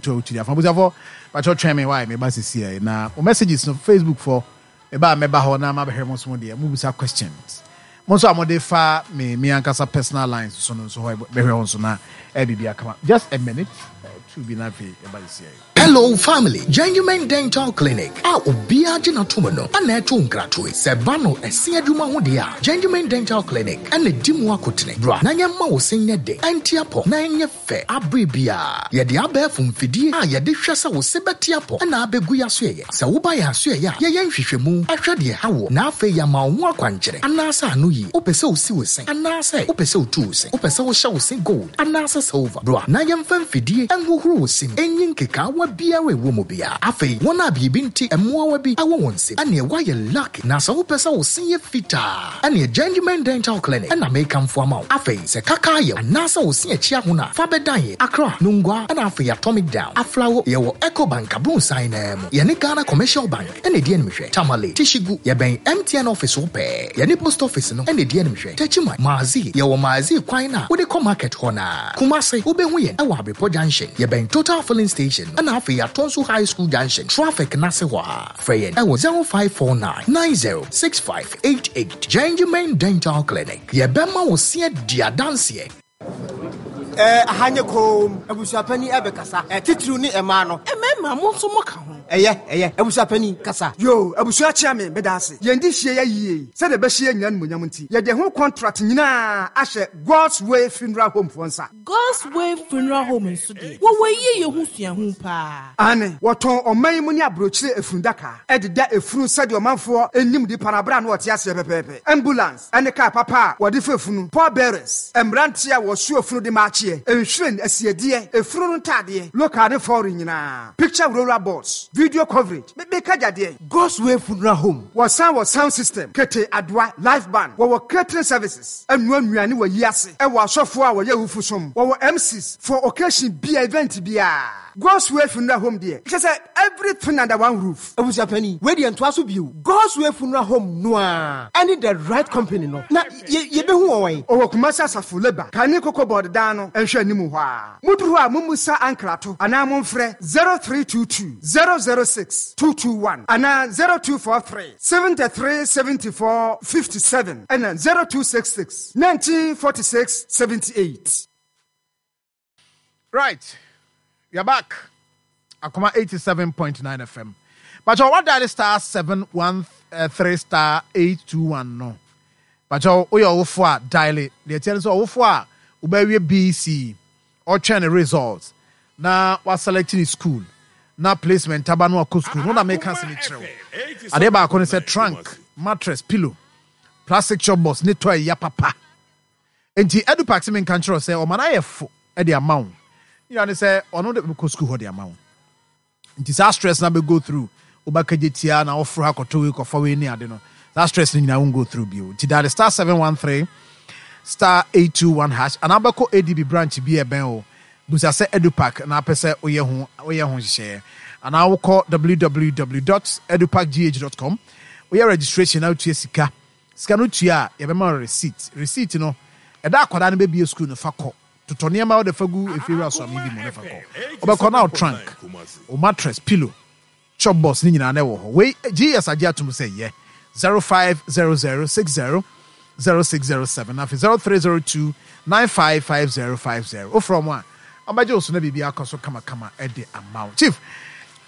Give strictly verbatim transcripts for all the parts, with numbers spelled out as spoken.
to a wotiri afa. Abusuafo, pakyɛ twɛn me wae, meba sisi na o messages no Facebook for meba a mɛba hɔ na mabɛhwɛ mo so mo deɛ mobisa questions. Mo nso a mode fa me me ankasa personal lines so no nso hɔ bɛhwɛ hɔ nso na ɛyɛ biribi akama. Just a minute, uh, two bi na afei ɛba sisi. Hello family, Genuine Dental Clinic a obiara gye n'atom no ana ɛto nkratoe sɛ ba no ɛse adwuma ho deɛ a, Genuine Dental Clinic ɛna di mu akotene. Bra na yɛmma wo se nyɛ den, ɛnte apɔ na ɛnyɛ fɛ abere biara. Yɛde abɛɛfo mfidie a yɛde hwɛ sɛ wo se bɛte apɔ ɛna abɛgu yɛ aso yɛyɛ. Sɛ woba yɛ aso yɛyɛ a, yɛyɛ nhwehwɛmu ɛhwɛ deɛ ha wɔ na afei yɛama wo ho akwankyerɛ anaasɛ ano yie. Wopɛ sɛ wosi wo se anaasɛ wopɛ sɛ wotu wo se, wopɛ sɛ wohyɛ wo se gold anaasɛ silver, bra na yɛmfa mfidie ɛnhohoro wo se mu ɛnyi nkekaawa biara ɛwɔ mu biara. Afei wɔn a biribi nti mmoawa bi ɛwɔ wɔn nsam ɛneɛ woayɛ lucky. Na sɛ wopɛ sɛ wo se yɛ fitaa ɛneɛ Genuine Dental Clinic ɛna mekamfo ama wo. Afei sɛ kaka ayɛ anaasɛ wo se akyi ahono a, fa bɛdan yɛ Accra, Nungua ɛna afei Atomic Down, Aflawo. Yɛwɔ Ecobank abronsan naa mu, yɛne Ghana Commercial Bank ɛna ɛdi animhwɛ. Tamale, Tishigu, yɛbɛn M T N office wo pɛɛ, yɛne post office no ɛna ɛdi animhwɛ. Techiman, Maazi, yɛwɔ Maazi kwan no a wode kɔ market hɔ naa. Kumase, wobɛhu yɛn ɛwɔ Abrepɔ Junction, yɛbɛn Total Filling Station ɛna afei Atonso High School Junction traffic n'ase hɔ a. Frɛ yɛn ɛwɔ zero five four nine nine zero six five eight eight. Genuine Dental Clinic, yɛbɛma wo se adi adanseɛ. Ɛɛ, aha nye koom. Abusuapani ɛbɛkasa, ɛtitiriw ne ɛmaa no. Mmarima, mo nso moka ho. Ɛyɛ, ɛyɛ, abusuapani kasa. Yo, abusua, kyea me, meda ase. Yɛn di hyia yɛ yie sɛdeɛ ɛbɛhyia nyina nomonyam nti, yɛde ho contract nyinaa ahyɛ God's Way Funeral Home foɔ nsa. God's Way Funeral Home nso deɛ, wɔwɔ yie yɛ ho suahu paa. Ane wɔtɔn ɔman yi mu ne aburokyire efundaka ɛdeda efunu sɛdeɛ ɔmanfoɔ anim nipa no abere a na wɔte aseɛ pɛpɛɛpɛ, ambulance ɛne kaa papa a wɔde fa efunu, pallbearers, mmeranteɛ a wɔso efunu de maakyeɛ, nhwiren asiedeɛ, efunu no ntaadeɛ, local ne foreign nyinaa, picture roller boards, video coverage, meka gyadeɛ. God's Way Funeral Home. Wɔsan wɔ sound system, kete, adoa, live band, wɔwɔ catering services, ɛnua nnuane wɔ yi ase, ɛwɔ asɔfoɔ a wɔyɛ awufo som, wɔwɔ M Cs for occasion bia, event biara. God's Way Funeral Home deɛ, kyerɛ sɛ everything under one roof. Abusuapani, wei deɛ ntoa so bio. God's Way Funeral Home noa ɛne the right company no na yɛ- yɛbɛhu wɔ wɔn. Ɔwɔ Kumasi Asafo Leba kane Koko Board dan no nhwɛ anim hɔ a moduru hɔ a, mommusa ankrato anaa momfrɛ zero three two two zero zero six two two one anaa zero two four three seven three seven four five seven ɛna zero two six six nineteen forty-six seventy-eight. Right, you're back. Akoma eighty-seven point nine F M. But you what dial star seven one three star eight two one no. But you woyɛ ɔwofo a, dial it. Deɛ tiɛ no sɛ ɔwofo a wobɛwie B C, ɔtwɛn ne results na waselect ne school na placement aba no akɔ school no na meka sɛ mekyerɛ wo. Adeɛ baako ne sɛ trunk, mattress, pillow, plastic chop box ne toy ya papa. Nti Edupac sɛ menka nkyerɛ wo sɛ ɔma no ayɛ fo de ama wo. Nyina ne sɛ ɔno de bɛkɔ school hɔ de ama wo. Nti saa stress na bɛ go through, wobɛka tia na woforo ha kɔtɔ wei kɔfa wei ne ade no, saa stress no nyinaa won go through bio. Nti dial star seven one three star eight two one hash anaa wobɛkɔ A D B branch bi a ɛbɛn o, busa sɛ Edupac na apɛ sɛ woyɛ ho woyɛ ho nhyehyɛeɛ anaa wokɔ w w w dot edupacgh dot com, woyɛ registration na wotua sika. Sika no tua a, yɛbɛma wo receipt. Receipt no, ɛda akwadaa no bɛbie school no, fa kɔ totɔ nneɛma wode fa gu efiewura so ame bi mu ne fa kɔ. Wobɛkɔ na wo trunk, wo mattress, pillow, chop box ne nyinaa na ɛwɔ hɔ. Wei G S agye atom sɛ yɛ zero five zero zero six zero zero six zero seven, afei zero three zero two nine five five zero five zero. Wofrɛ mu a, ɔbɛgye wo so na biribi akɔ so kamakama ɛde ama wo. Chief,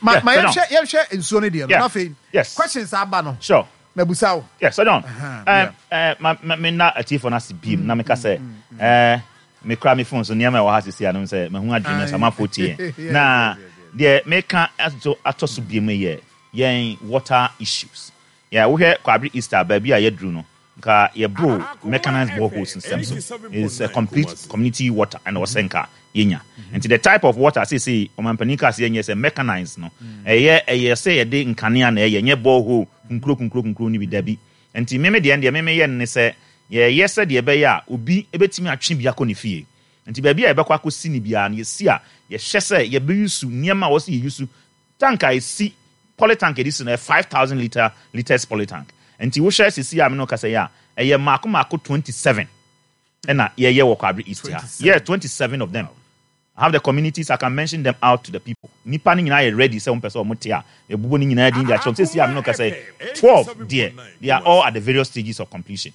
ma Yeah, ma Sir John. yɛnhwɛ yɛnhwɛ nsuo no deɛ no Yeah. na afei Yes. questions aba no Sure. mabusa wo. Yes, Sir John. Uh-huh, Um, uh, ma, ma, me na atiefo no ase biem na meka sɛ eh, mekura me phone so nneɛma a ɛwɔ ha sisi anom sɛ mahu adwene sɛ amanfoɔ tie Yes, na yes, yes, deɛ meka ato atɔ so biem yɛ yɛn water issues. Yeah, wohwɛ Kwabre East a, baabi a yɛduru no, nka yɛboro mechanized boreholes nsɛm so is a complete community water ɛna ɔsɛ nka yɛnya. Nti the type of water seesei ɔmampanin kaa sɛ yɛnyɛ sɛ mechanized no, ɛyɛ ɛyɛ sɛ yɛde nkanea na ɛyɛ, nyɛ borehole kunkuro kunkuro kunkuro no bi, dabi. Nti meme deɛ deɛ meme yɛ no ne sɛ yɛyɛ sɛ deɛ ɛbɛyɛ a obi ebɛtumi atwe bi akɔ ne fie. Nti baabi a yɛbɛkɔ akɔsi ne biara no, yɛsi a, yɛhyɛ sɛ yɛbɛuse nneɛma a wɔsɛ yɛuse. Tank a ɛsi, polytank yɛde si no, ɛyɛ five thousand litre litres polytank. Nti wohwɛ sisi a me no kasa yi a, ɛyɛ mmaako mmaako twenty seven ɛna yɛyɛ wɔ Kwabre East ha. Yeah, twenty seven of them. I have the communities, I can mention them out to the people. Nipa no nyinaa yɛ ready sɛ wɔn pɛ sɛ wɔn te a, yɛbobɔ ne nyinaa din de akyerɛ wɔn. Seesei a me ne wo kasa yi, twelve deɛ, they are all at the various stages of completion.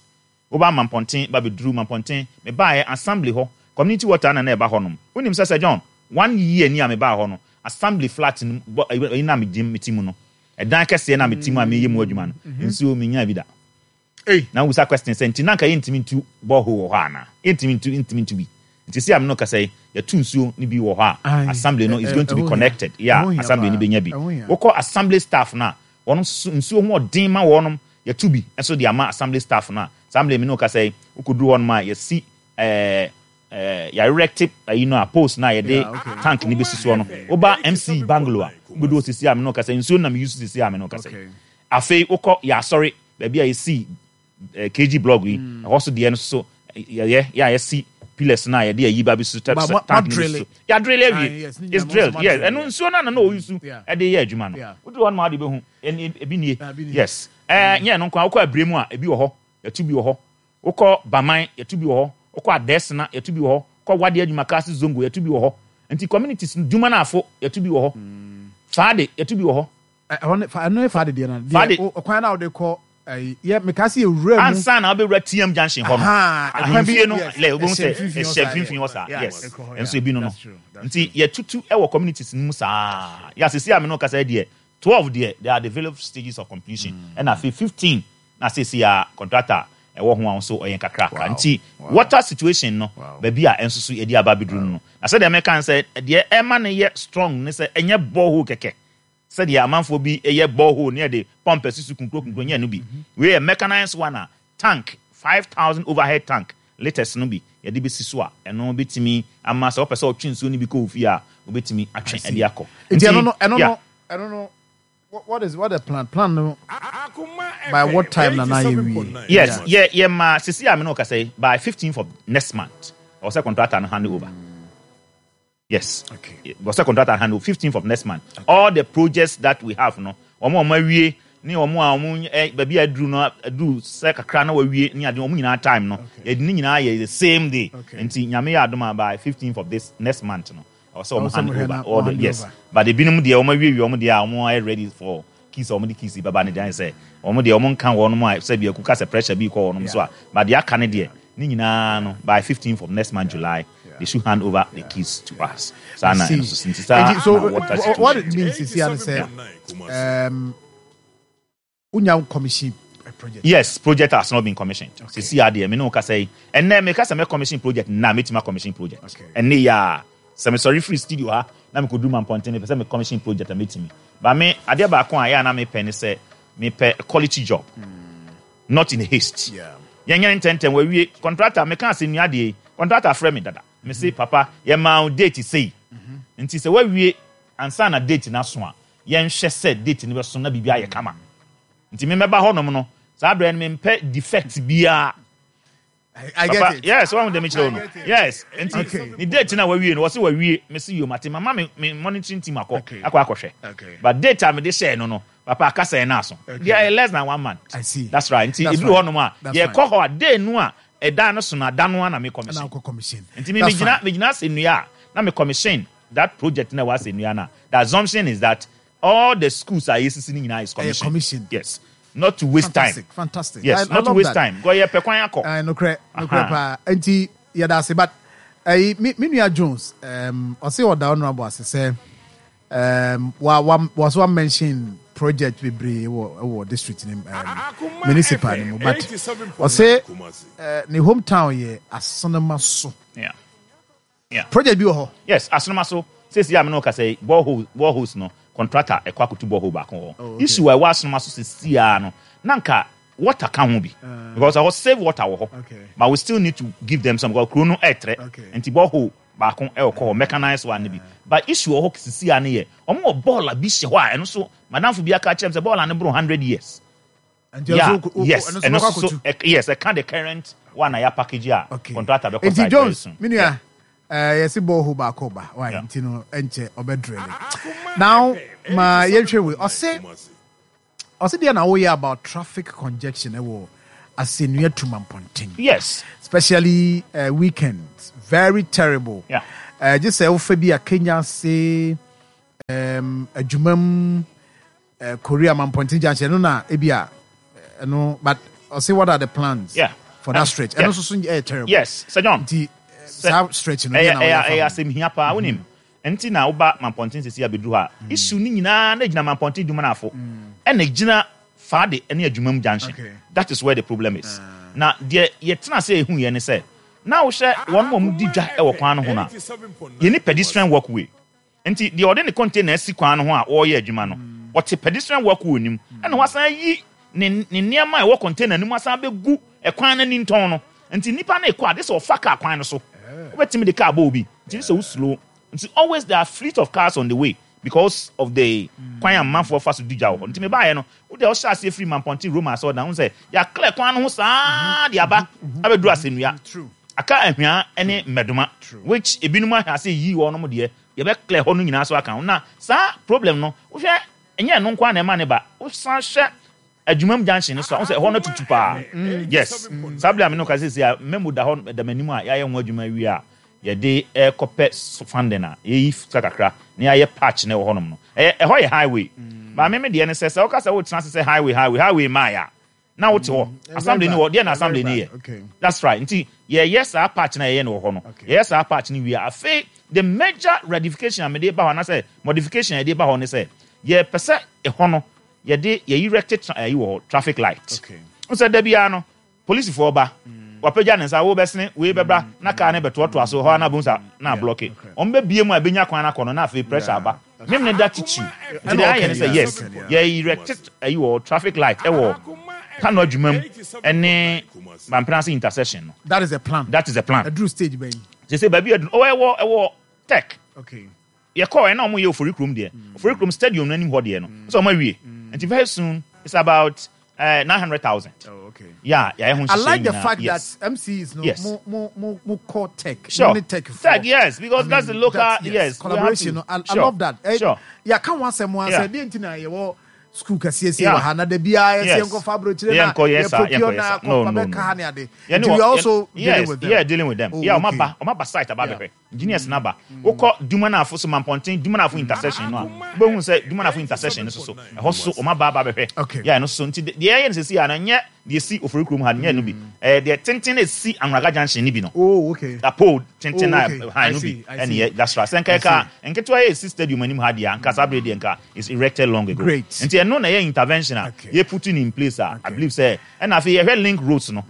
Woba Mampɔnten, ba bɛduru Mampɔnten, mebaeɛ assembly hɔ, community water na na ɛba hɔnom. Wonim sɛ Sir John, one year ni a mebaa hɔ no, assembly flat no, bɔ, ɛyi na megye mete mu no, ɛdan kɛseɛ na mete mu a meyɛ mu adwuma no, nsuo menyaa bi da. Ei. Na wobisa question sɛ, nti na anka yɛntumi ntu borehole wɔ hɔ anaa? Yɛntumi ntu, ntumi ntu bi. Nti seesei a me ne wo kasa yi, yɛtu nsuo no bi wɔ hɔ a, Aye. assembly no is Ɛ- going to be ɛho hia. connected. Yeah, Ɛho hia assembly no paa. bɛnya bi. Ɛho hia. Wokɔ assembly staff no a, wɔn nso nsuo ho ɔden ma wɔnom, yɛtu bi nso de ama assembly staff no a, assembly me ne wo kasa yi, wokɔduru hɔnom a, yɛsi ɛɛ ɛɛ yɛarect ayi no a, post no a yɛde Yeah, okay. tank no bɛsi soɔ no. Woba M C bungalow a, wobɛdu hɔ seesei a me ne wo kasa yi, nsuo no na meyi so seesei a me ne wo kasa yi. Okay. Afei wokɔ yɛ asɔre baabi a yɛsi eh, K G blog yi, ɛhɔ so deɛ no so yɛyɛ yɛ a yɛsi pillars no a yɛde ayi ba bi so Ba- mo- tank no bi mo so yɛadrill Ah, awie. yes, ne It's nyinaa mo drilled. nso mo Yes, adrill, ɛno yeah. nsuo no a na na ɔyi so Yeah. ɛde yɛ adwuma no, Yeah. woduru hɔ no ma wode bɛhu ɛne ebi nie. Ah, ebi nie. Yes, ɛɛ nyɛ no nko a, wokɔ abire mu a, ebi wɔ hɔ, yɛtu bi wɔ hɔ. Wokɔ Baman, yɛtu bi wɔ hɔ. Wokɔ Adɛsena, yɛtu bi wɔ hɔ. Kɔ Wade Adwumakase Zongo, yɛtu bi wɔ hɔ. Nti communities no, dwuma no afo, yɛtu bi wɔ hɔ. Faade, yɛtu bi wɔ hɔ. Ɛ- ɛhɔ ne fa ɛno ne fa de deɛ no. Fa de. Deɛ o- ɔkwan na wode kɔ ɛyi yɛ meka sɛ yɛwura mu. Ansa na wobɛwura T M Junction hɔ no, Aha, ɛkwan bi- ahemfie no yes, lɛ wobɛhu ɛhyɛ sɛ mfimfini hɔ ɛhyɛ saa, mfimfini hɔ saa. yeah, Yes, ɛkɔ hɔ, ɛnso yeah. ebi no no That's true, that's Nti yɛtutu ɛwɔ communities no mu saa. Yɛ asesi a me no kasa yi deɛ, twelve deɛ, they are the various stages of completion, ɛna afei fifteen na asesi a contractor ɛwɔ ho a nso ɔyɛ nkakraka. Nti water situation no, baabi a ɛnso so yɛde aba abɛduru no no na sɛdeɛ mɛka no sɛ deɛ ɛma no yɛ strong ne sɛ ɛnyɛ borehole kɛkɛ sɛdeɛ amanfoɔ bi yɛ borehole ne yɛde pump asi so kunkuro kunkuro, nyɛ no bi. Wei yɛ mechanized one a tank five thousand overhead tank litres no bi yɛde bɛsi so a, ɛno bɛtumi ama sɛ wopɛ sɛ ɔtwe nsuo no bi kɔ wo fie a, wobɛtumi atwe ɛde akɔ. Nti ɛno no ɛno yeah. no ɛno no what what is what the plan plan no, by what time na na yɛ wie? Yes, yɛ yɛ ma sisi a me no kasa yi, by fifteenth of next month ɔwɔ sɛ contractor no hand over. Yes. Okay. Ɔwɔ sɛ contractor hand over fifteenth of next month. All the projects that we have no, wɔn a wɔn awie ne wɔn a wɔn ɛ baabi a aduru no, aduru sɛ kakra na wɔawie ne ade, wɔn nyinaa time no, yɛde ne nyinaa yɛ the same day. Okay. Nti Nyame yɛ adom a, by fifteenth of this next month no, ɔwɔ sɛ Ɔwɔ wɔn sɛ hand wɔn over hand all the hand yes. over. But ebinom deɛ, wɔn awie wie wɔn deɛ a, wɔn ayɛ ready for keys a wɔn de keys bɛba ne deɛ, ayɛ sɛ wɔn deɛ wɔn nka wɔn a sɛ bi ekuka sɛ pressure bi kɔ wɔn so a, but deɛ aka ne deɛ ne nyinaa no, by fifteenth of next month, July, they should hand over the keys to us. Saa na See. ɛno so nti saa Nti, so na water wh- what situation. it means is here sɛ um wonya commission a project? Yes, project has not been commissioned. Sisi adeɛ me ne wo kasa yi, ɛnɛ me kasa mɛ commission project na metuma commission project. Okay. Ɛnɛ yɛ a sɛ mesɔre firi studio ha na mekɔduru Mampɔnten, mepɛ sɛ me commission project a, metumi ba. Me adeɛ baako a ɛyɛ a na mepɛ ne sɛ mepɛ a quality job, not in haste. Yeah. Yɛnyɛ ntɛntɛn wawie. Contractor meka ase nnua deɛ yi, contractor frɛ me dada, me se papa, yɛma wo date sei, nti sɛ wawie ansa na date no aso a, yɛnhwɛ sɛ date no bɛso na biribi ayɛ kama. Nti memɛba hɔnom no, saa berɛ no mempɛ defect biara. I, I get Papa, it. yes, wɔn dɛm kyerɛ wo no. I get it. Yes, nti Okay. ne date na wawie no, wɔsi wawie, mesi yom ate mama me me monitoring team akɔ Okay. akɔ akɔhwɛ. Okay. But date a mede hyɛɛ no no papa, akasa yɛn n'aso Okay. deɛ, ɛyɛ less than one month. I see. That's right. Nti That's eduru fine. hɔnom a, That's yɛkɔ hɔ a, day no a ɛda no so no, ada no a na me commission. Na wokɔ commission. Nti me That's megyina fine. megyina asɛnnua a na me commission that project na ɛwɔ asɛnnua no a, the assumption is that all the schools a yɛsisi no nyinaa is commission. Commissioned. Yes, not to waste Fantastic, time. fantastic. Yes, I, I not to love waste that. time because yɛpɛ kwan akɔ. Uh, nokorɛ nokorɛ Aha. paa. Nti yɛda ase, but ɛyi me me nua Jones um, ɔse ɔda honorable ase sɛ um, wa wa was wa mention project bebree wɔ wɔ district ne um, municipal ne mu, but ɔse uh, ne hometown yɛ Asenema so. Yeah. Yeah. Project bi wɔ hɔ? Yes, Asenoma so sesi a me ne wo kasa yi, borehole boreholes no, contractor ɛkɔ akoto borehole baako wɔ hɔ. Oh, okay. Issue a ɛwɔ Asenoma so sesi a no, na nka water ka ho bi because ɛhɔ save water wɔ hɔ, Okay. but we still need to give them some because kuro no ɛɛtrɛ. Okay. Nti borehole baako ɛwɔ kɔ hɔ, mechanized one no bi, but issue wɔ hɔ sisi a no yɛ ɔmo wɔ bɔɔla bi hyɛ hɔ a, ɛno so madamfo bi aka kyerɛ m sɛ bɔɔla no boro hundred years. Nti Yeah, ɛno nso- yes, ɛno nso ɛno bɛkɔ so akɔtu. ɛ- yes, ɛka the current one a yɛ package a Okay. contractor bɛkɔ Nti site very Jones, soon. me nua, eh, yɛsi borehole baako ba why Yeah. nti no ɛnkyɛ ɔbɛdrɛle. Now ma yɛnhwɛ wei, ɔse ɔse deɛ na woyɛ about traffic congestion ɛwɔ Asɛnnua to Mampɔnten? Yes. Especially uh, weekends, very terrible. Yeah. Uh, just sɛ wofa bi a Kenya se um, adwumam uh, Korea Mampɔnten junction ɛno na ebi a ɛno, but ɔse what are the plans Yeah. for that Uh, stretch? yeah. Ɛno nso so ɛyɛ terrible. Yes, Sir John. Nti saa stretch no ɛyɛ deɛ na ɛyɛ wɔyɛ ɛyɛ fa ho. asɛm hia paa. Wonim nti na woba Mampɔnten sisi abɛduru hɔ a, issue no nyinaa na gyina Mampɔnten Dumanafo ɛna gyina Faade ne Adwumam junction. Okay. That is where the problem is. Na deɛ yɛtena sɛ ehu yɛ ne sɛ na wohyɛ wɔn a wɔn di dwa ɛwɔ kwan no ho no a, yɛni pedestrian walkway, nti deɛ ɔde ne container asi kwan no ho a ɔreyɛ adwuma no, ɔte pedestrian walkway nim ɛna wasan yi ne ne nneɛma a ɛwɔ container no mu asan bɛgu ɛkwan no ani ntɔn no. Nti nipa no ekɔ ade sɛ ɔfa kaa kwan no so, wobɛtumi de kaa bɔ obi, nti sɛ woslow, nti always there are fleet of cars on the way because of the kwan a mmanfoɔ fa so di dwa wɔ hɔ. Nti mebaeɛ no, wode ɔhyɛ aseɛ firi Mampɔnten Roma asɛ ɔda ho sɛ yɛaclear kwan no ho saa de aba abɛduru Asɛnnua. True. Aka Ahwea ne Mmɛdoma, which ebinom ahwɛ ase yi wɔn nom deɛ, yɛbɛclear hɔ no nyinaa so aka ho. Na saa problem no, wohwɛ, ɛnyɛ ɛno nko ara na ɛma ne ba. Wosan hwɛ Adwumam junction no so a, wo sɛ ɛhɔ no tutu paa. Yes, saa bere a me no ka sɛ a memo da hɔ da m'anim a yɛayɛ ho adwuma wie a, yɛde ɛkɔpɛ funding a yɛyi sika kakra na yɛayɛ patch na ɛwɔ hɔnom no. Ɛyɛ ɛhɔ yɛ highway. Maame, me deɛ ne sɛ sɛ woka sɛ wotena ase sɛ highway, highway, highway maa yɛ a, na wote hɔ, assembly ni wɔ deɛ na assembly ni yɛ. Okay. That's right. Nti yɛyɛ saa patch na yɛyɛ no wɔ hɔ no, yɛyɛ saa patch no wie a, afei the major ratification a mede ba hɔ anaasɛ modification a yɛde ba hɔ ne sɛ yɛpɛ sɛ ɛhɔ no yɛde yɛyi erect tra ɛyi wɔ hɔ, traffic light. Okay. N sɛ da biara no polisifoɔ ba, wapagya ne nsa, wo bɛsene wei bɛbra na kaa ne bɛtoatoa so hɔ a na bohu sa na ablock. Okay. Ɔmo bɛbie mu a ɛbɛnya kwan akɔ no na afei pressure aba mem ne da titiriw. Nti deɛ ayɛ ne sɛ, yes, yɛ erect ɛyi wɔ traffic light ɛwɔ Kano Adwuma mu ɛne Mampenase intersection no. That is the plan. That is the plan. Aduru stage bɛn? Sɛ sɛ baabi aduru, ɔwɔ ɛwɔ ɛwɔ tech. Okay. Yɛkɔɔ ɛna ɔmo yɛ Ofori Kurom deɛ, Ofori Kurom stadium no anim hɔ deɛ no sɛ ɔmo awie, nti very soon it's about uh, nine hundred thousand. Oh, okay. Yeah, yɛayɛ ho I like the nhyehyɛ nyinaa. fact yes. that M C Es no Yes. mo mo mo mo call tech. Sure. Mo ne tech for. Tech, yes, because that's the local- that's- yes, we have collaboration to. no, I, I Sure. love that. Eh, Sure. yɛaka ho asɛm ho Yeah. asɛ deɛ nti na yɛwɔ school kɛseɛ sie Yeah. wɔ ha na da biara yɛsɛ Yes. yɛnkɔfa aburokyire na Yɛnkɔ yɛ saa, yɛprocure yɛnkɔ yɛ na saa. No, akɔfa no, bɛka no. ha ne ade. Yɛne Nti wɔ- we are also yɛn- dealing yes, with them. Yeah, dealing with them. Oh, Yeah, ɔmo okay. aba, ɔmo aba site aba bɛhwɛ. Engineers n'aba. Wokɔ Dumanafo so, Mampɔnten Dumanafo intersection no a, wobɛhu sɛ Dumanafo intersection no so so ɛhɔ so ɔmo aba aba bɛhwɛ. Okay. Yeah, ɛno so nti deɛ ɛyɛ no sisi a no, nyɛ deɛ esi Ofori Kurom ha no, nyɛ no bi. Ɛɛ deɛ tenten na esi Anwuraga junction ni bi no. Oh, okay. A pole tenten na Oh, okay. han I no see, bi I ɛne see. yɛ, that's right. Sɛ nka ɛka nketewa yɛ esi stadium anim ha deɛ, nka saa bere deɛ nka is erected long ago. Great. Nti ɛno na ɛyɛ intervention a Okay. yɛ putting in place a I believe sɛ ɛna afei yɛhwɛ link roads no,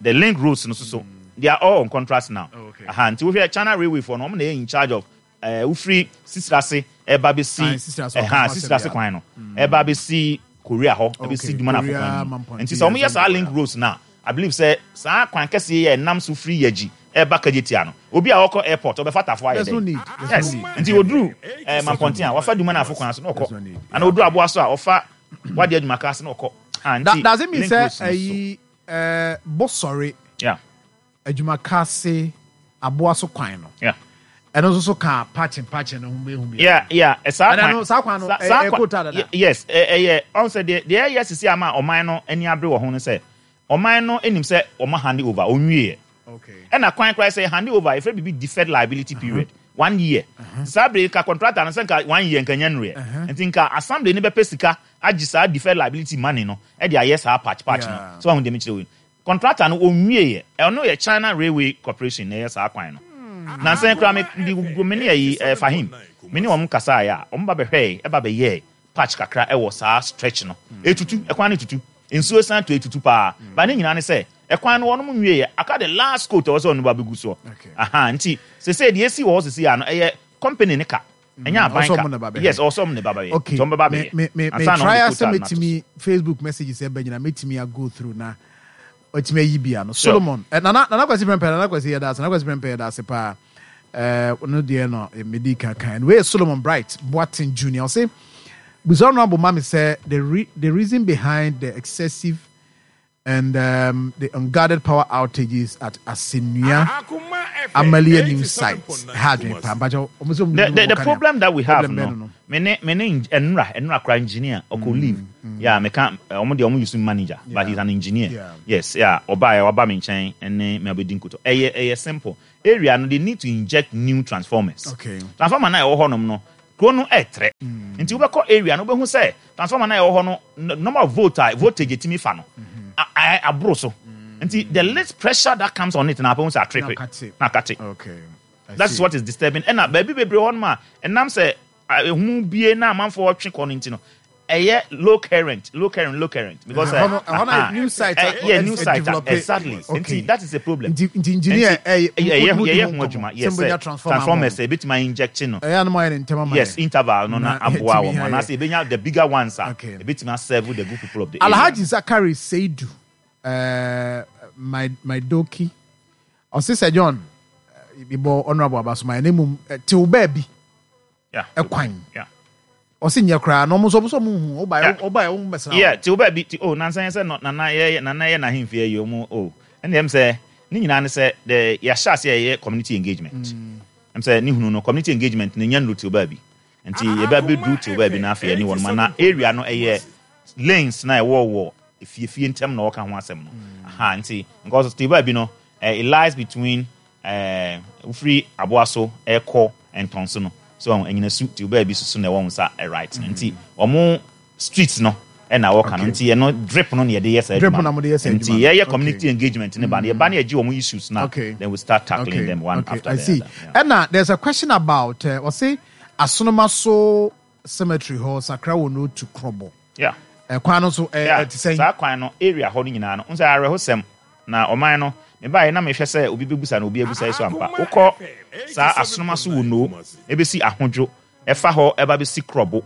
the link roads no so so they are all on contract now. Oh, okay. Aha, nti wohwɛ China Railway for no, ɔmo na yɛ in charge of ɛɛ wofiri Sisirase ɛba bɛsi Ah, Sisirase, ɛha ɔka ho Sisirase asɛm, kwan no ɛba bɛsi Korea hɔ, ɛbɛsi Okay, Dumanafo Korea, kwan no mu. Mampɔnten, Nti sɛ ɔmo yɛ saa Zongo, link yeah. roads na I believe sɛ saa kwan kɛseɛ yɛ ɛnam so firi Yɛgyi ɛba Kagyetia no, obi a ɔkɔ airport ɔbɛfa Tafo ayɛ There's dɛ no need. There's yes no need. Nti oduru ɛɛ Mampɔnten a, wafa Dumanafo kwan so na There's ɔkɔ no need. ana oduru Aboa so a, ɔfa Wade Adwumaka ase na ɔkɔ. Ah, That, nti does it mean link sɛ roads no so. ɛyi ɛɛ Bɔsɔre yeah Adwumakase Aboa so kwan no, yeah ɛno nso so ka patching patching no ho mehu bi? yeah yeah ɛ, saa Ɛna kwan no, saa kwan no, sa- ɛ- saa ɛ- kwan- quota dada. Ye- yes, ɛ- ɛyɛ ɔn sɛ deɛ deɛ ɛyɛ sisi ama ɔman no ani abere wɔ ho no sɛ ɔman no anim sɛ ɔma hand over onwie. Okay. Ɛna kwan koraa sɛ hand over, yɛfrɛ biribi deferred liability period, one year. Saa bere ka contractor no sɛ nka one year nka nya nnuɛ, nti nka assembly no bɛpɛ sika agye saa deferred liability money no ɛde ayɛ saa patch patch no. Yeah. So ɔho deɛ mekyerɛ wei, contractor no onwie yɛ. Ɛno yɛ China Railway Corporation na ɛyɛ saa kwan no. Nansan koraa me de gugu me ne ɛyi ɛɛ Fahim, me ne wɔn kasa yɛ a, wɔn ba bɛhwɛ, ɛba bɛyɛ patch kakra ɛwɔ saa stretch no. Etutu ɛkwan no, tutu nsuo san to etutu paa ba. Ne nyinaa ne sɛ ɛkwan no wɔn nwie yɛ, aka the last coat a ɛwɔ sɛ ɔno ba bɛgu soɔ. Okay. Aha, nti sese deɛ esi wɔ hɔ sese ano, ɛyɛ company ne ka, ɛnyɛ aban Ɔsɔ ɔmo na ba ka. bɛhwɛ. Yes, ɔsɔ ɔmo ne ba bɛyɛ. Okay. Nti ɔmo bɛba Me bɛyɛ me me me ansa na try ɔmo de asɛ quota no ato so. metumi Facebook messages ɛbɛ nyina metumi a go through na otumi ayi bia no. Sure. Solomon eh, Nana Nana Kwasi Prempeh, Nana Kwasi, yɛda ase. Nana Kwasi Prempeh, yɛda ase paa. Eh, no deɛ no eh, medi kankan wei yɛ Solomon Bright Boateng Junior. Ɔse busa no abo ma me sɛ the re the reason behind the excessive and um, the unguarded power outages at Asenua Amalia new site ha adwene paa mpakyɛ ɔmo sɛ ɔmo the, the, the problem that we have Problem no, bɛn no? Me ne me ne enra enra kra engineer ɔkɔ leave. Yeah, me can ɔmo de ɔmo use manager, but he's an engineer. Yeah. Yes, yeah, ɔba yɛ waba me nkyɛn ɛne me abɛdi nkoto. Ɛyɛ ɛyɛ simple. Area no, they need to inject new transformers. Okay. Transformer na ɛwɔ hɔnom no, kuro no ɛɛtrɛ. Nti wobɛkɔ area no, wobɛhu sɛ transformer na ɛwɔ hɔ no, n- number of volt a voltage etimi fa no, a- a- aboro so. Nti the least pressure that comes on it na apɛhu sɛ atrip. Na akate. Na akate. Okay. I That's see. what is disturbing. Ɛna baabi bebree hɔ nom a ɛnam sɛ a, ehu bie na amanfoɔ twe kɔ no nti no, ɛyɛ low current, low current, low current because Ɛhɔ no- ɛhɔ no uh, new site uh, a- yeah, ɛ- new ɛ- site a- develop. Exactly. Okay. Nti that is a problem. Nti nti engineer ɛyɛ ɛyɛ mo- mo- yɛyɛ mo- ho adwuma. sɛ Yes, mbɛnya sɛ transformer ama transformers wɔn. ebitumi inject no. Ɛyɛ anum ayɛ ne ntɛm ama Yes, yɛ. interval no na Na aboa ɛtumi wɔn ayɛ. anaasɛ ebenya the bigger ones a Okay. ebitumi serve the good people of the area. Alhaji Zakari Seidu, uh, my my doki. Ɔsi sɛ John, ibɔ Honourable Abasoma ɛne mu tew baabi Yeah. ɛkwan. Yeah. Ɔsi nyɛ koraa na ɔmo nso ɔmo nso ɔmo hu ɔba Yeah. ɔba ɔmo bɛsra. Yeah, ti wo baabi ti oh nansan sɛ no nana yɛ nana yɛ n'ahemfie yi ɔmo oh ɛna ɛm sɛ ne nyinaa ne sɛ the yɛahyɛ ase a yɛyɛ community engagement. Ɛm sɛ ne hunu no, community engagement ne nya nnuru ti wo baabi, nti yɛbɛ bɛduru ti wo baabi na afei ɛne wɔn ma na area no ɛyɛ lanes na ɛwɔ wɔ efiefie ntɛm na ɔka ho asɛm no aha. Nti because ti baabi no, eh, it lies between ɛɛ wofiri aboa so ɛkɔ ntɔnso no so ɛnyinasu ti wo baabi soso na ɛwɔ wɔn nsa ɛ right no, nti ɔmo street no ɛna wɔka no, nti ɛno drip no na yɛde yɛ saa Drip adwuma na mode yɛ saa nti adwuma no. yɛyɛ Okay. community engagement ne ba no, yɛba ne yɛgye wɔn issues na Okay. then we start tackling Okay. them one okay. after I the see. other. Yeah. Ɛna there's a question about uh, ɔsi Asonomaso Cemetery hɔ Sakra wɔ no to Krobo. Yeah. Ɛkwan no so ɛ Yeah. ɛte sɛn? Saa kwan no, area hɔ no nyinaa no, nso awerɛhosɛm na ɔman no mebaeɛ na mehwɛ sɛ obi bɛbusa na obi abusa yi so ampa. Wokɔ saa Asonoma so wɔ no ɛbɛsi Ahodwo, ɛfa hɔ ɛba bɛsi Korɔbo,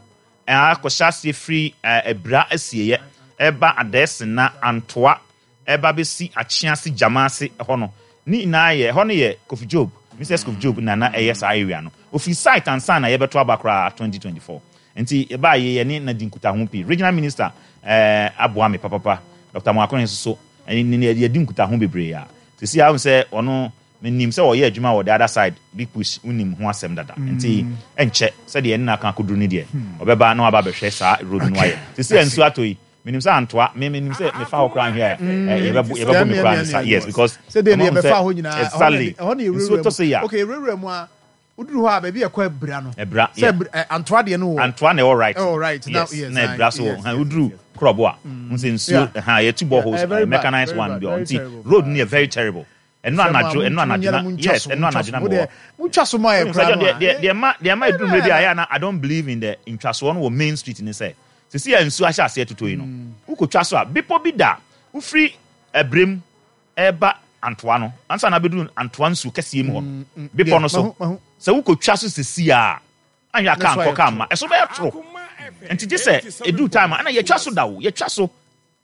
akɔhyɛ aseɛ firi eh, Abira asieɛ ɛba Adɛɛsena Antoa ɛba bɛsi Akyease Gyamaase ɛhɔ no ne nyinaa yɛ ɛhɔ no yɛ Kofi Job, Missus Kofi Job nana ɛyɛ saa area no ofi site ansa na yɛbɛto aba koraa twenty twenty-four. Nti yɛbaa yɛ yɛne na di nkutaho pii. Regional minister ɛɛ aboa me papapa, Doctor Moakone nso so ɛne ne yɛdi nkutaho bebree a sisi ahun sɛ ɔno menim sɛ ɔyɛ adwuma wɔ the other side, Big Push, wonim ho asɛm dada. Nti ɛnkyɛ sɛdeɛ ɛne n'aka akɔduru no deɛ, ɔbɛba na waba abɛhwɛ saa road no ayɛ. Sisi a nsuo atɔ yi, menim sɛ Antoa me menim sɛ mefa hɔ koraa nhwɛ a ɛ, yɛbɛbo yɛbɛbɔ me koraa ne sa. Yes, because sɛdeɛ ne ɔmo hu yɛbɛfa sɛ- hɔ nyinaa exactly, ɛhɔ ne nsuo yɛwurawura tɔ so yi mu. a Okay, yɛwurawura mu a woduru hɔ a baabi ɛkɔ Abira no Ɛbra, sɛ yeah. Abira- ɛ, Antoa deɛ no wɔ Antoa na ɛwɔ right. Ɛwɔ right, now- Yes, yes, na aye, Ɛbra so yes, ha yes, woduru Korɔbo a n sɛ nsuo Yeah. ha yɛtu boreholes, Yeah, very bad, mechanized very one bad, bi very nti terrible. road no yɛ very terrible. Ɛno anadwo, ɛno anadwo na, yes, ɛno anadwo na mewɔ montwa so ma yɛ koraa no a deɛ deɛ ma deɛ ma eduru mmerɛ bi a yɛ ana I don't believe in the ntwasoɔ no wɔ main street ni sɛ sisi yɛ nsuo ahyɛ aseɛ toto yi no, wokotwa so a bepɔ bi da wofiri Ɛbrem ɛba Antoa no ansa na abɛduru Antoa nsuo kɛseɛ mu hɔ no, bepɔ no so Mahu- mahu. sɛ wokotwa so sisi a anyɛ aka Na so nkɔ ayɛ ka toro. ma ɛso bɛyɛ toro. Nti gye sɛ eduru time a ɛna yɛtwa so da o, yɛtwa so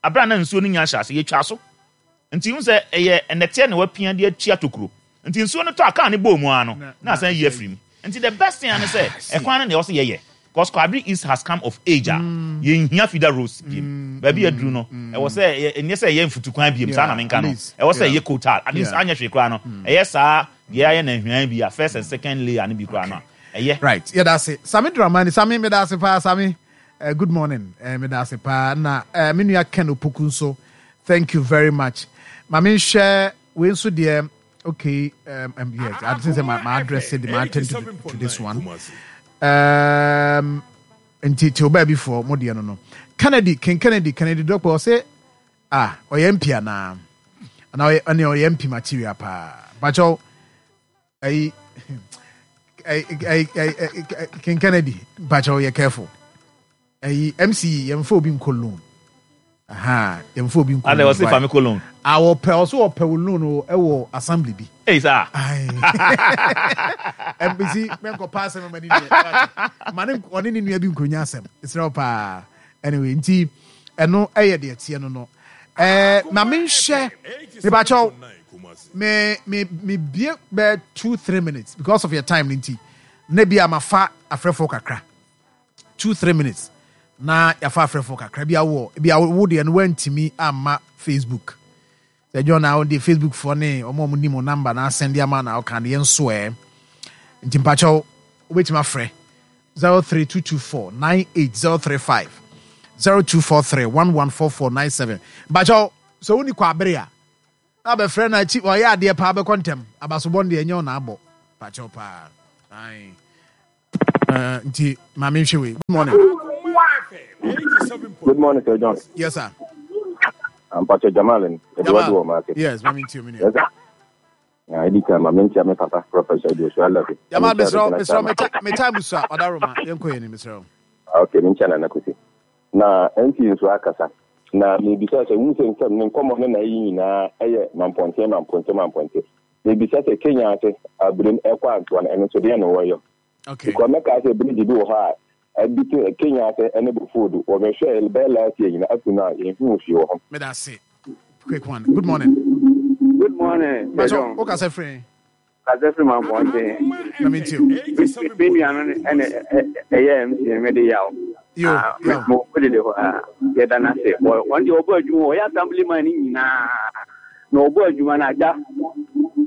abira na nsuo no nya ahyɛ ase yɛtwa so. Nti n sɛ ɛyɛ ɛnɛteɛ na wapia de atua tokuro, nti nsuo no tɔ a kaa ne bɔɔ mu ara no na asan yi afiri mu. Nti the best thing ano sɛ ɛkwan no na ɛwɔ sɛ yɛyɛ, because Kwabere East has come of age a yɛnhia feeder roads biem. Baabi aduru no, ɛwɔ sɛ ɛyɛ- ɛnyɛ sɛ ɛyɛ mfutukwan biem saa na menka no, ɛwɔ sɛ ɛyɛ coal tar at least. Yeah. Anyɛ hwee koraa no, ɛyɛ saa deɛ ayɛ na nhwan bi a first and second layer no bi koraa no a ɛyɛ. Right, yɛda ase, Sami Dramani Sami, meda ase paa Sami. uh, good morning. uh, meda ase paa na uh, me nua Ken Opoku nso, thank you very much. Ma menhwɛ wei nso deɛ. Okay, um, um, yes, I think sɛ ma, ma address it, ma attend to, to this one. um, nti te ɔbaa bi foɔ mo deɛ no no Kennedy, King Kennedy, Kennedy Dɔkpɔ, ɔsɛ ah ɔyɛ M P anaa anaa ɔyɛ ɔne ɔyɛ M P material paa bakyɛw. Ɛyi ɛyi ɛyi ɛyi King Kennedy, mpakyɛw yɛ careful. Ɛyi M C yɛmfa obi nkɔ loan aha, yɛmfa obi nkɔ Ade loan. ɔse fa me kɔ loan. A wɔpɛ, ɔso wɔpɛ wo loan o, ɛwɔ assembly bi. Ei saa. M P C mɛnkɔ pa asɛm ma ne nua ma ne ɔne ne nua bi nkonya asɛm ɛsrɛ wo paa. Anyway, nti ɛno ɛyɛ deɛ teɛ no no ɛɛ ma menhyɛ mebakyɛw me me me bie bɛɛ two three minutes because of your time ne nti na bi a mafa afrɛfoɔ kakra, two three minutes na yɛafa afrɛfoɔ kakra bi awɔ bi a wo deɛ no wantumi amma Facebook sɛ John na wode Facebook foɔ ne ɔmo a ɔmo nim wo number na asɛnde ama na ɔka no yɛn nso ɛ. Nti mpakyɛw wobɛtumi afrɛ zero three two two four nine eight zero three five zero two four three one one four four nine seven. Bakyɛw sɛ woni kɔ abere a na bɛfrɛ no akyi ɔyɛ adeɛ paa bɛkɔ ntɛm abasobɔ no deɛ ɛnyɛ ɔna abɔ bakyɛw paa. Aye. Uh, nti maame nhwɛ wei. Good morning. Good morning, Sir John. Yes, sir. I'm Pastor Jamal. Jamal. Yes, maame nti omi ni. Yes, sir. I did come. I'm my papa, Professor Joshua Levy. Jamal, Mister Mister me time so Odaroma. Yenko yeni Mister Okay, me ncha na nakusi. Na M P nso akasa. Na me bisa se wu se nsem ne nkomo ne na yi nyina eye mamponte mamponte mamponte. Me bisa se Kenya ase abrem ekwa anto na eno so de na wo yo. Okay. Because me ka se bridge bi wo ha a bi Kenya ase ene bo food wo be hwe be last year nyina atu na ye hu fi wo ho. Me da se. Quick one. Good morning. Good morning. Macho, o ka se free. Ka se free mamponte. Na me too. Me nua no ene eye M C me de yawo. Yo, yo. Mo ko de ho a ye da na se. Won de obo adwuma o ya assembly man ni nyina. Na obo adwuma na agya.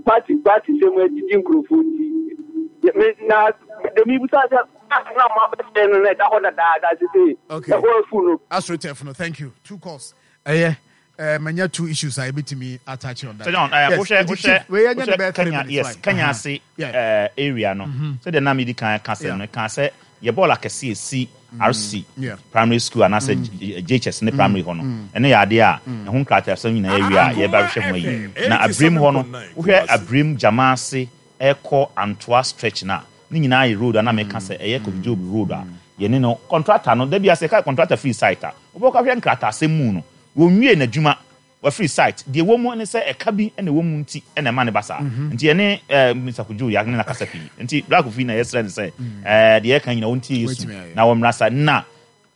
Party party se mo adidi nkrofo ti. Me na de mi busa se na ma be no na da ho da da se se. Okay. E fu no. AstroTurf no, thank you. Two calls. Eh eh manya two issues I betimi attach on that. So John, eh yes, wo hwe we anya the best Kenya, yes, Kenya se eh area no. So the na me di kan kan se no kan se ye ball akese esi R C primary school and ase J H S ne primary ho no. Ene ya ade a e ho nkrata so nyina area ye ba hwe ho yi. Na Abrim ho no, wo hwe Abrim Jamase Eko Antoa stretch na ni nyina ye road na me kan se eye Kofi Job road a ye ne no contractor no da bia se ka contractor free site a. Wo ka hwe nkrata se mu no. Wo nwie na dwuma wa free site de wo mu ne se eka bi na wo mu nti na ma ne basa nti ene Mister Kojo ya ne na kasa pi nti Black Kofi na yesre ne se eh de ye kan nyina wo nti yesu na wo mrasa na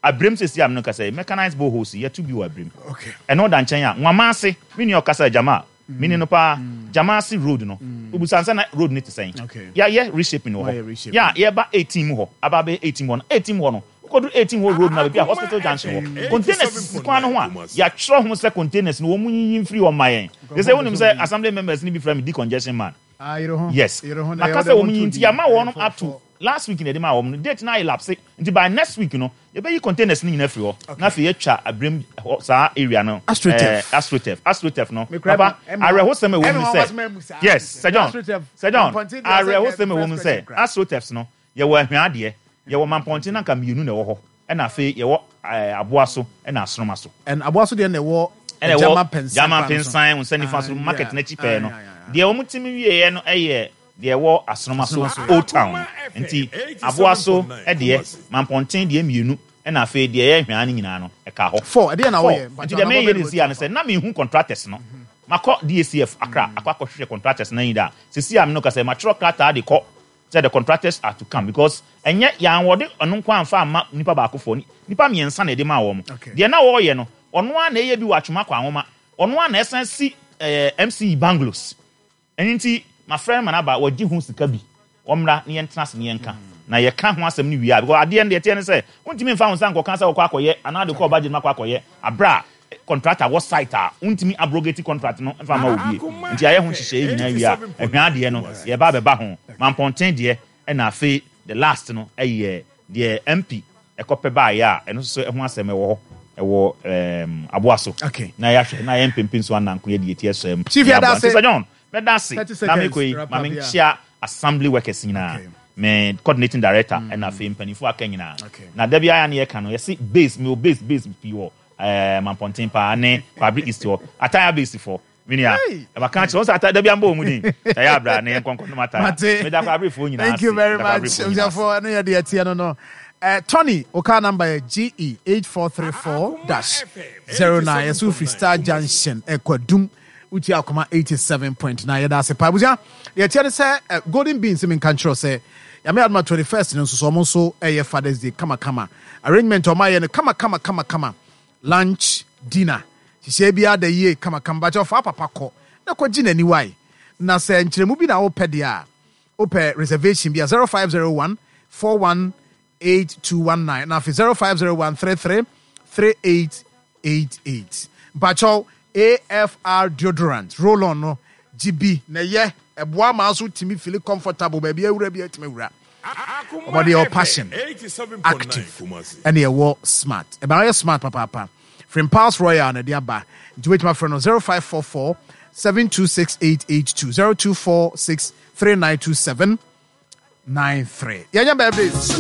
Abrem sesi am no kasa mechanized boreholes ye to bi wa Abrem. Okay. Eno da nchen a nwamase me nua kasa jama me ni no pa Jamase road no obusansa na road ne te sen ya ye reshaping wo ya ye ba eighteen mu ho aba be eighteen ho no eighteen ho no kodu eighteen ho road na be hospital junction ho containers kwan no ho a ya tro ho se containers no wo mu yin free on my they say wonim say assembly members ni be from decongestion man. Ah, you ho. Yes. Makasa wo mu yin ti ya ma wo no up to last week na de ma wo no date na elapse nti by next week no ye be containers ni nyina free ho na fe ye twa Abrem saa area no AstroTurf AstroTurf AstroTurf no papa areho sem e wo mu say yes Sir John Sir John areho sem e wo mu say AstroTurfs no ye wo ahwa ade ye wo mamponte na nka mienu na wo ho e na fe ye wo aboa so e na asroma so and aboa so de na wo Jama Pensan Jama Pensan unse nifa so market na chipe no de wo mutimi wie no eye de wo asroma so Old Town nti aboa so e de mamponte de mienu e na fe de ye hwa ne nyina no e ka ho four e de na wo ye nti de me ye de si an se na me hu contractors no makọ D A C F Accra akwa akọhwehwe contractors na yida sisi am no ka se matro krata de kọ said the contractors are to come because enye yan wode ono nko amfa ama nipa baako fo nipa miensa na e de ma wo mo de na wo ye no ono a na eye bi watwuma kwa anwoma ono a na esan si M C E bungalows enti my friend manaba wagi hu sika bi omra ne yentena se ne yenka na ye ka ho asem ne wi because ade ne de ne se untimi mfa ho san ko kan se wo akoye ana de ko budget makwa akoye abra contractor was site a untimi abrogate contract no mfa ma obi nti aye ho hyehyɛ nyina wi a ehwa ade no ye ba beba ho mamponten de e na afi the last no eye de M P ekope ba ya eno so ho asem e wo ho ewo em aboa so na ya hwe na ye mpempem so ananko ye de tie so em Chief ya da se John me da se na me koi ma me nchia assembly workers nyina me coordinating director and afi mpanifo aka nyina na da bia ya na ye ka no ye se base me o base base pi wo eh mamponten pa ne Kwabri East wo ataya base for minia e ba kan che won sa da bia mbo omudin e ya bra na ye nkonko no mata me da Kwabri fo nyina. Thank you very much for no ye de tie no no. Uh, Tony, oka number G E eight four three four dash zero nine. Yesu Free Star Junction, Ekwadum, Uti Akoma eighty-seven point nine. Yada se pa buja. Ye tiye se Golden Beans in country se. Yame adma twenty-first no so so so eh Father's Day kama kama. Arrangement o ma ye no kama kama kama kama. Lunch, dinner. Sise bia da ye kama kama ba fa papa ko. Na ko gi nani wai. Na se nkyeremu bi na wo pɛ de a. Wo pɛ reservation bia zero five zero one four one eight two one nine. Now for zero five zero one three three three eight eight eight. Bacho A F R deodorant roll on no G B na ye eboa ma so timi feel comfortable baby awura bi atimi wura. Ɔmɔde yɛwɔ Passion, Active, ɛne ɛwɔ Smart. Ɛbɛn ɔyɛ smart papaapa. Frimpals Royal na ɛde aba, nti wobɛtumi afrɛ no zero five four four seven two six eight eight two, zero two four six three nine two seven nine three. Yɛnyɛ birthdays.